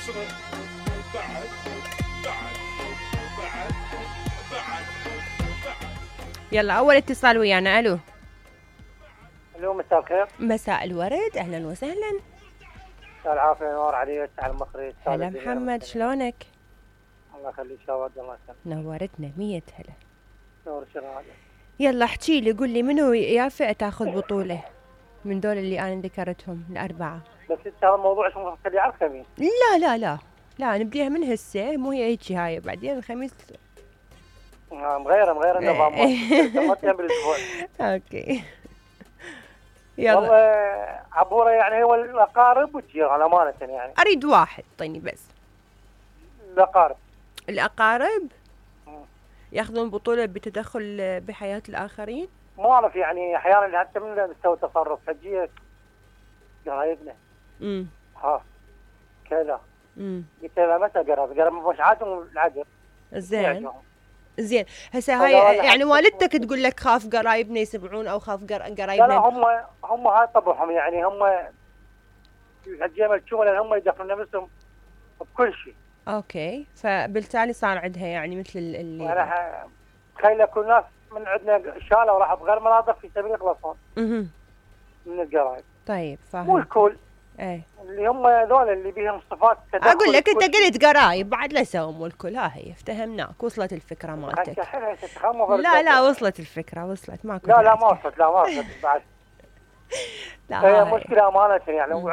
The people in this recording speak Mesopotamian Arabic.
بعد بعد بعد بعد بعد. يلا اول اتصال ويانا. الو. الو مساء الخير. مساء الورد، اهلا وسهلا. مساء العافيه، نور عليك على المخرج. هلا محمد، شلونك؟ الله يخليك، شاود الله يسلمك. نورتنا 100 هلا. نور شرايك. يلا احكي لي، قول لي منو يافع تاخذ بطولة من دول اللي انا ذكرتهم الاربعة؟ بس انت هذا الموضوع شو مخليه على الخميس؟ لا نبديها من هسه، مو هي هيك هاي بعدين الخميس. مغيرة النظام. بالاسبوع. اوكي. يلا. والله عبورة يعني هو الاقارب والجيران امانة يعني. اريد واحد طيني بس. الاقارب ياخذون بطولة بتدخل بحياة الاخرين؟ ما اعرف يعني احيانا حتى من نسوي تصرف حجية قرايبنا. ها كذا. قلت له متى قرب مش عادهم العقل. زين هسه هاي يعني والدتك تقول لك خاف قرايبنا يسمعون او خاف قرايبنا؟ لا هم هاي طبعهم يعني. هم الحجية الشغل هم يدخلون نفسهم بكل شيء. اوكي، فبالتالي صار عندها يعني مثل اللي انا تخيل اكو ناس من عندنا شالوا وراحوا بغير مناطق في سبيل يخلصون من القرايب. طيب فاهم. مو الكل. ايه اللي هم هذول اللي بيهم صفات تدخل. اقول لك انت قلت قرايب بعد لا سووا مو الكل. ها هي افتهمناك، وصلت الفكره مالتك. لا وصلت الفكره، وصلت ماكو. لا ما وصلت بعد. لا مشكله امانه يعني.